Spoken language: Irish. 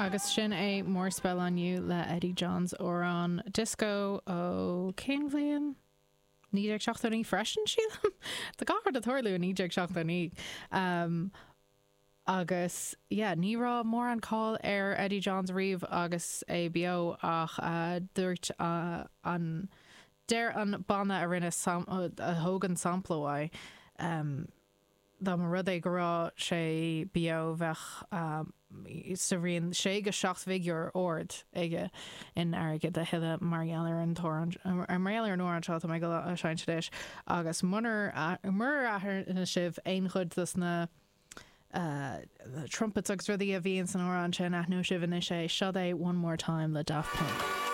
Agus sin é More Spell on You le Eddie Johns, amhrán disco ó cén bhliain? 1979 freisin, sílim? Tá gach rud ag tarlú i 1979. Agus yeah, ní raibh mórán cáil ar Eddie Johns riamh agus é beo ach dúirt an, deir an banna a rinne, a thóg an sampla uaidh, Dá mba rud é go raibh sé beo bheadh sa raon sé go 7 bhfigiúr ard aige in airgead a thuilleadh mar gheall ar an t-amhrán, mar gheall ar an amhrán seo atá mé ag dul a sheinnt anois. Agus munar, murar aithin sibh aon chuid dos na trumpets agus rudaí a bhíonn san amhrán sin, aithneoidh sibh anois é. Seo é One More Time le Daft Punk.